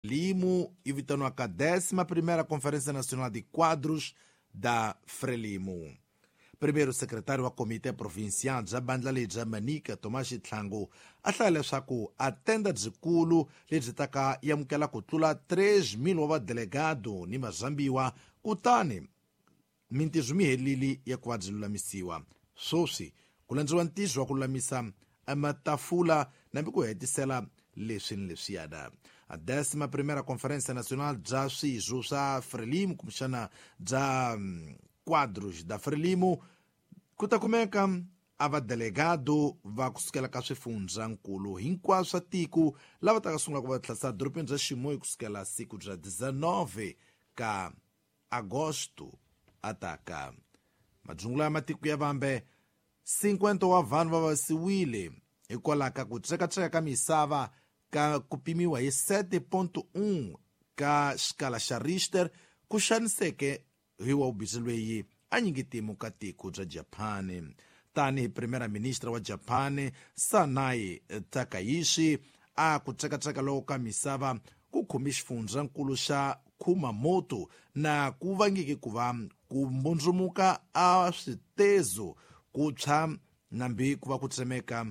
Limo yi vitaniwaka 11ª Conferência Nacional de Quadros da Frelimo. Primeiro secretário wa Comitê Provincial bya bandla lebya Manica Tomás Tlhangu a hlaya leswaku a tenda byikulu lebyi taka yamukela ku tlula 3,000 wa vadelegado ni mazambiwa, kutani mintirho mi helile ya ku va byi lulamisiwa. Sweswi ku landziwa ntirho wa ku lulamisa matafula nambi ku hetisela leswi ni leswiyana. A 11ª Conferência Nacional bya swirho swa Frelimo kumbexana bya Quadros da Frelimo ku ta kumeka a vadelegado va kusukela ka swifundzhankulu hinkwaswo swa tiko lava taka sungula ku va tlhasa dorobeni bya Chimoio kusukela siku bya 19 ka Agosto ataka. Madzungula ya matiko ya vambe 50 wa vanhu va vavisiwile hikwalaho ka ku tsekatseka ka misava ka ku pimiwa hi 7.1 ka xikala xa Richter ku xaniseke hi wa ubisi lweyi a nyingitimu ka tiko bya Japani. Tanihi Primera Ministra wa Japani Sanae Takaichi a ku tsekatseka loko ka misava ku khumbi xifundzankulu xa Kumamoto na ku vangeke ku va ku mbundzumuka a switezo ku tshwa nambi ku va ku tsemeka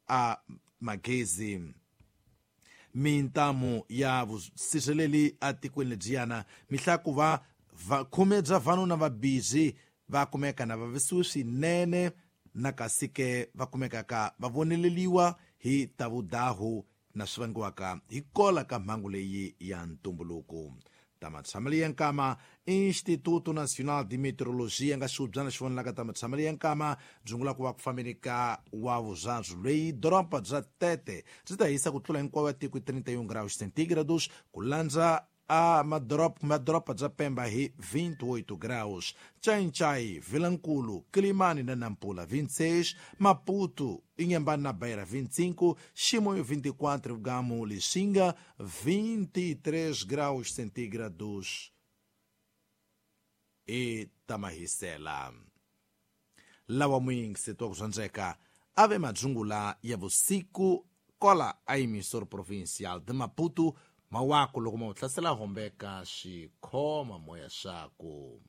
a magezi. Mintamu ya vusirheleli atikweni lebyiyana mihla ku va khume bya vanhu na vabizi va kumeka na vavisiwe swinene na kasi ke va kumekaka va voneleliwa hi ta vudahu na swi vangiwaka hi kola ka mhangu leyi ya ntumbuluko. Ta matshamelo ya nkama Instituto Nacional de Meteorologia nga xihubyana xi vonelaka ta matshamelo ya nkama byungula ku va ku fambeni ka wa vuzabyi lweyi doroba bya Tete byi ta hisa ku tlula hinkwawo ya tiko 31 graus centígrados ku landza a madoroba bya Pemba hi 28 graus, Xai-Xai, Vilankulu, Quilimane na Nampula 26, Maputo, Inhambane na Beira 25, Chimoio 24, Gamo, Lixinga 23 graus centígrados e Tamahisela. Lawa muyingiseti wa ku zwandzeka ave madzungula ya vusiku kola a emissor provincial de Maputo mawako loko ma wu hlasela hombeka xikhoma moya xaku.